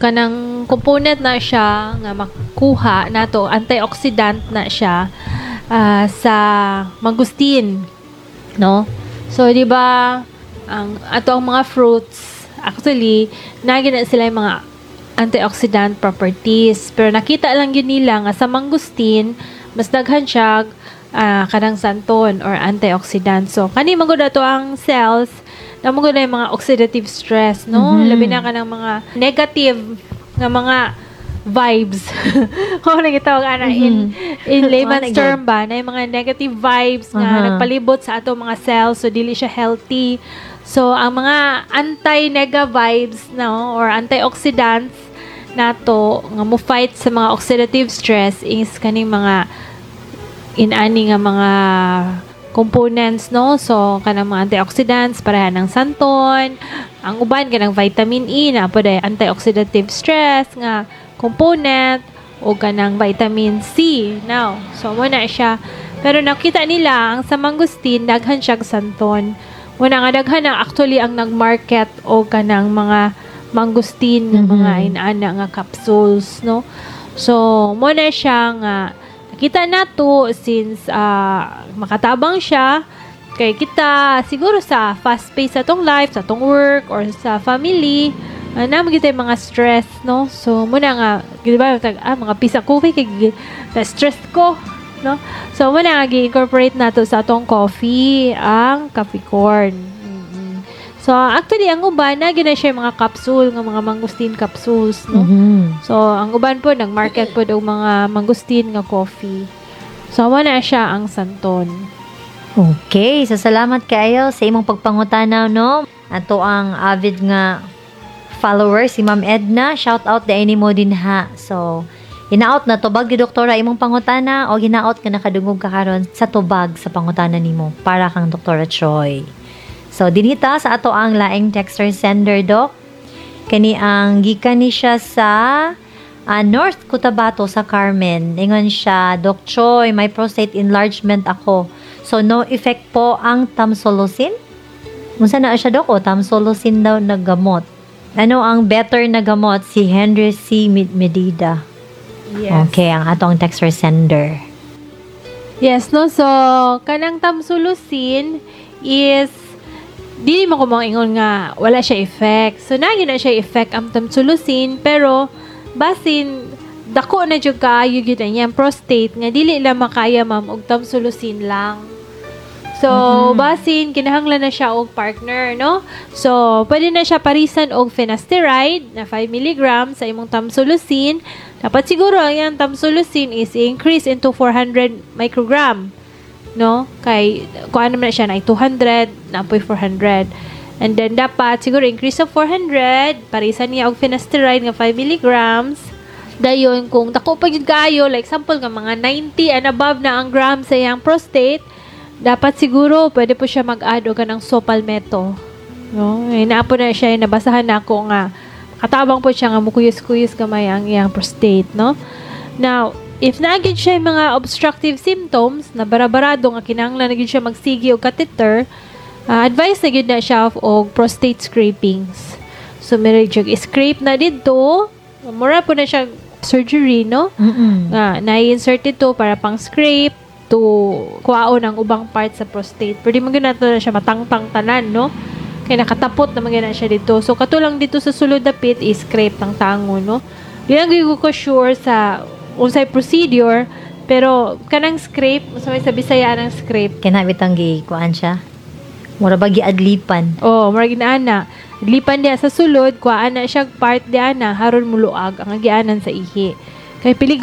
Kanang component na siya nga makuha nato, antioxidant na siya sa mangustin, no? So di ba ang ato ang mga fruits, actually naa na sila yung mga antioxidant properties, pero nakita lang gyud nila nga sa mangustin mas daghan siya kanang xanthone or antioxidant. So kani man gud ato ang cells na mo gud na yung mga oxidative stress, no? Labi na kanang mga negative nga mga vibes. Kung ano gitawag ana in layman's Wala gyud. Term ba, na yung mga negative vibes nga nagpalibot sa ato mga cells, so dili siya healthy. So ang mga anti-nega vibes, no, or antioxidants nato nga mo fight sa mga oxidative stress is kaning mga inani nga mga components, no? So kanang mga antioxidants pareha ng xanthone, ang uban kanang vitamin E na po antioxidative stress nga component, o kanang vitamin C now. So mo na siya, pero nakita nila ang sa mangosteen daghan siya xanthone. Muna nga daghan na actually ang nagmarket o kanang mga mangosteen nga mga inana nga capsules, no? So mo na siya nga nakita nato since makatabang siya kay kita siguro sa fast pace sa atong life, sa atong work or sa family, naa man gyud mga stress, no? So muna nga di ba tag, mga pisa coffee kay na stress ko, no? So muna nga gi-incorporate nato sa atong coffee ang Capricorn. So actually ang uban na gina siya yung mga capsule nga mga mangosteen capsules, no? So, ang uban po, nag-market po og mga mangosteen nga coffee. So, mo na siya ang xanthone. Okay, so salamat kaayo sa imong pagpangutana, no? Ato ang avid nga follower si Ma'am Edna, shout out diay nimo din ha. So, hinaot na tubag ni doktora imong pangutana o hinaot nga nakadungog ka karon sa tubag sa pangutana nimo para kang Doktora Choi. So, dinhi ta sa ato ang laing texter sender, doc. Kani ang gikan ni siya sa North Cotabato, sa Carmen. Ingon siya, "Doc Choi, may prostate enlargement ako. So, no effect po ang tamsulosin?" Unsa na siya, Doc? O, tamsulosin daw na gamot. Ano ang better na gamot? Si Henry C. Medida. Yes. Okay, ang atong texter sender. Yes, no? So, kanang tamsulosin is dili mo ko ingon nga wala siya effect. So, naa na siya effect ang tamsulosin, pero basin dako na jud kaayo gyud ang iyang prostate nga dili lang makaya, ma'am, og tamsulosin lang. So, basin kinahanglan na siya og partner, no? So, pwede na siya parisan og finasteride na 5 mg sa imong tamsulosin. Dapat siguro ang iyang tamsulosin is increase into 400 microgram, no? Kay kuan naman na siya na 200, na 400. And then dapat siguro increase of 400, parisan niya og finasteride nga 5 milligrams. Dayon kung dako pa gyud kaayo, like example nga mga 90 and above na ang gram sa iyang prostate, dapat siguro pwede po siya mag-add og kanang saw palmetto. No? Eh, naa po na siya, nabasahan na ako nga katabang po siya nga mukuyos-kuyos gamay ang iyang prostate, no? Now, if naa gyud siya yung mga obstructive symptoms na barabarado nga kinahanglan na gyud siya magsigi og catheter, advice na gyud na siya og prostate scrapings. So, meron siya scrape na dito, mura po na siya surgery, no? Nga, na-insert ito para pang scrape to kuhaon ang ubang part sa prostate. Pero di man gyud nato na siya matangtang tanan, no? Kay nakatapot na man gyud na siya dito. So, katulang dito sa sulod dapit is scrape tang tango, no? Di lang gyud ko sure sa unsay procedure, pero kanang scrape, sa may sa Bisaya ang scrape. Kana bitang gi kuan siya. Mura ba giadlipan? Oh, murag inaana. Lipan diya sa sulod, kuhaan na siya part diya na haron muluag ang agianan sa ihi. Kay peligro